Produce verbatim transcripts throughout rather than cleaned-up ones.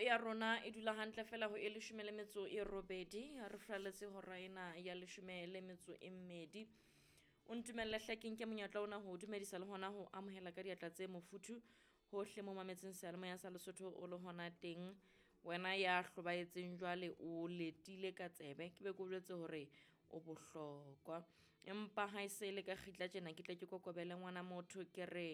ya rona e dula hantle fela ho e leshome le metso e robedi, re furaletse hora ena ya leshome le metso e mmedi. O ntumelle hle ke nke monyetla ona ho dumedisa le hona ho amohela ka diatla tse mofuthu hohle mo mametseng seyalemoya sa Lesotho o le hona teng. Wena ya hlobaetseng jwale o letile ka tsebe, ke be ke o jwetse hore o bohlokwa. Empa ha e se le ka kgitla tjena ke tle ke kokobele ngwana motho ke re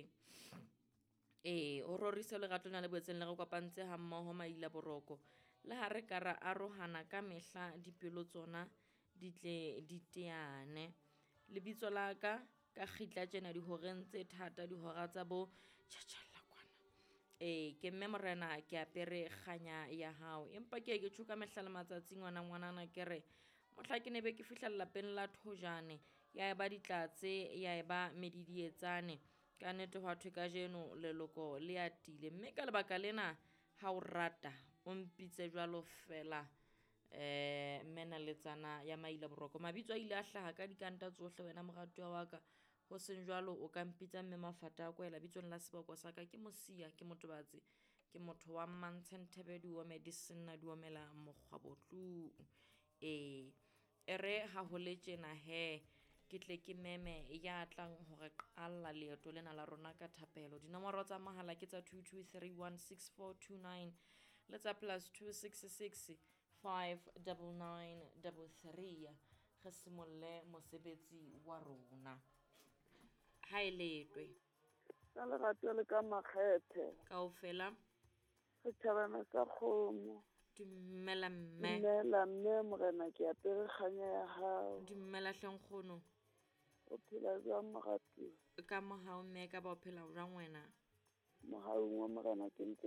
ee, o rorise lerato lena le boetseng le re kopantse ha mmoho maila boroko. Le ha re ka ra arohana ka mehla dipelo tsona di tle di teane. Lebitso la ka ka kgitla tjena dihoreng tse thata dihora tsa bo tjhatjhalla kwana. Ee, ke mme morena ke apere kganya ya hao. Empa ke ye ke tjho ka mehla le matsatsi ngwana ngwanana ke re mohla ke ne be ke fihla lelapeng la Thojane ya eba ditlatse ya eba medidietsane. Ka nnete hwa thwe kajeno leloko le atile, mme ka lebaka lena ha o rata o mpitse jwalo fela eh mme naletsana ya maila boroko. Mabitso a ile a hlaha ka dikanta tsohle wena moratuwa wa ka, ho seng jwalo o ka mpitsa mme Mafata a kwela bitsong la seboko sa ka ke Mosia, ke Motobatsi, ke motho wa Mmantshe Nthebe di ome di senna di omela mokgwabo tlung. Ee, e re ha ho le tjena hee ke tle ke meme ya tlang hore qalla leeto lena la rona ka thapelo. Dinomoro tsa mohala ke tsa two two three one six four two nine le tsa plus two six six five double nine double three. Re simolle mosebetsi wa rona. Ha e letwe. Ka lerato le ka makgethe. Kaofela. Setjhabana sa kgomo. Dumela mme. Dumela mme morena ke apere kganya ya hao. Dumela hle nkgono. O phela jwang moratuwa? Ka mohau mme ka ba o phela jwang wena? Mohaung wa morena ke ntse